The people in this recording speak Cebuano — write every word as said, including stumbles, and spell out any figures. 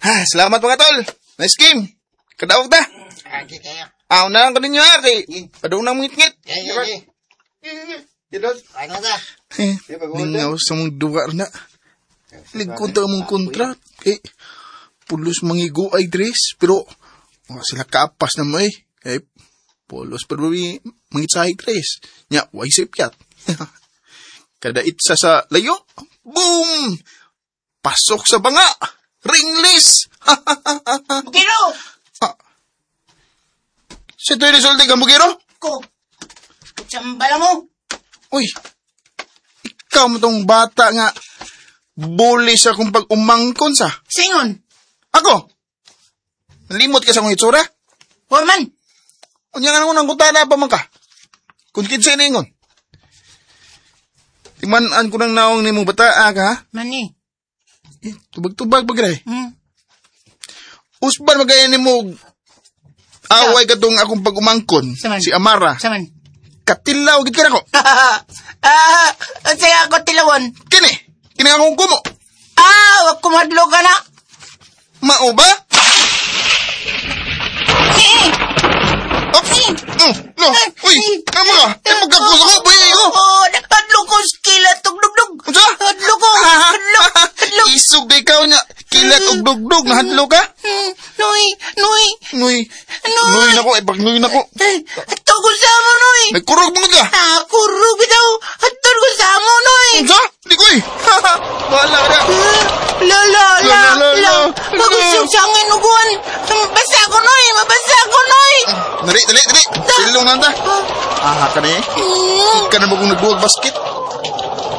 Ha, salamat mga tol. Nice game. Kadaog ta. Agi kayo. Aw na lang ko ninyo ha, kay padung nang mungit-ngit. Yeah, yeah, yeah. Ano ta? Eh, Ningaw sa mong duwa na. Ligkon ta mong kontra. Kay, pulos mangigo ay dress. Pero, wa sila kapas na mo eh. Kay, pulos pero mangitsahi dress. Nya, way sipyat. Kada itsa sa layo, boom! Pasok sa banga! Ringless! Bugiro! ah. Sa ito'y resulte ka, Bugiro? Ko. Kutsamba lang mo. Uy, ikaw mo tong bata nga bully sa akong pag-umangkon sa. Singon. Ako? Nalimot ka sa akong itsura? Wa man. Unya nga nang kutana pa man ka. Kung kinsa iningon. Timan-an ko nang naong nimong bataa ka, ha? Mani. Eh, tubag-tubag pa gray. Hmm. Usban magaya nimo away katong akong pag-umangkon, Saman. si Amara. Saman. Katilaw gid ka nako. ah, saya ako tilawon. Kini, kini akong kumo. Ah, wag kumadlo ka na. Mao ba? Eh, Oh, mm, no. Uy, kamo ka. Eh, magkakos ako, boy ko. Oh, hadlo ko sa kilat og dugdug. Unsa? Hadlo ko. Hadlo. Hadlo. Isog di ikaw niya. Kilat og dugdug, nahadlo ka? Hmm, Noy, noy. Nuy. Nuy. Nuy nako, eh, pag nuy nako. Ato ko sa mo, noy. Nagkurog mo ka. Ah, kurog bitaw. Ato ko sa mo, noy. Unsa? Di ko eh. Wala na. La, la, la, La, la, la. la. Magusog sa angin uguan. Mabasa ko, noy. Mabasa ko, noy. Dali, dali, dali. Silong na ta. Ah, ka na eh. Hmm. Ka na ba kung nagbuwag basket?